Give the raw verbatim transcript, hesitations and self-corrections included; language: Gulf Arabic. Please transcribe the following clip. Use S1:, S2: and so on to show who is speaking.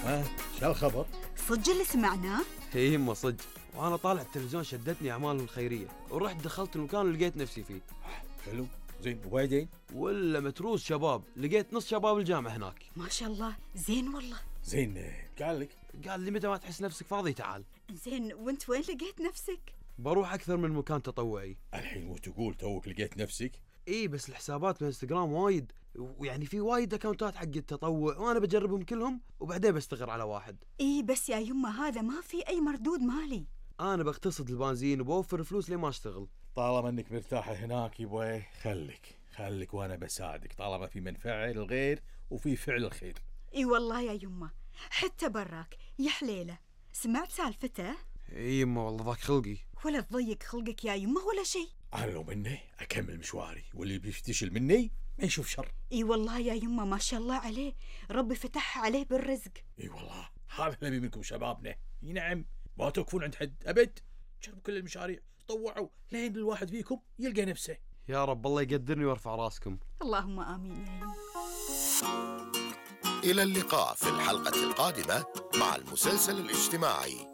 S1: ها شو الخبر؟
S2: صدق اللي سمعناه؟
S3: هي يمه صدق، وانا طالع التلفزيون شدتني اعمالهم الخيريه ورحت دخلت المكان اللي لقيت نفسي فيه.
S1: حلو زين، وبعدين؟
S3: ولا متروس شباب، لقيت نص شباب الجامعه هناك.
S2: ما شاء الله، زين والله.
S1: زين، قال لك؟
S3: قال لي متى ما تحس نفسك فاضي تعال.
S2: زين، وانت وين لقيت نفسك؟
S3: بروح اكثر من مكان تطوعي.
S1: الحين وتقول توك لقيت نفسك؟
S3: اي بس الحسابات بالانستغرام وايد، ويعني في وايد اكونتات حق التطوع وانا بجربهم كلهم وبعدين بستقر على واحد.
S2: اي بس يا يمه هذا ما في اي مردود مالي.
S3: انا بقتصد البنزين وبوفر فلوس لما اشتغل.
S1: طالما انك مرتاحه هناك يبوي خليك خليك وانا بساعدك، طالما في منفعه للغير وفي فعل الخير.
S2: اي والله يا يمه، حتى براك يا حليله. سمعت سالفته؟
S3: اي يمه والله ضاق خلقي.
S2: ولا تضيق خلقك يا يمه ولا شيء.
S1: انا لو مني اكمل مشواري، واللي بيفتشل مني ما يشوف شر.
S2: اي والله يا يمه ما شاء الله عليه، ربي فتح عليه بالرزق.
S1: اي والله هذا اللي منكم شبابنا. اي نعم، ما توقفون عند حد ابد، جربوا كل المشاريع، طوعوا لين الواحد فيكم يلقى نفسه.
S3: يا رب الله يقدرني ويرفع راسكم.
S2: اللهم آمين يا يمه.
S4: إلى اللقاء في الحلقة القادمة مع المسلسل الاجتماعي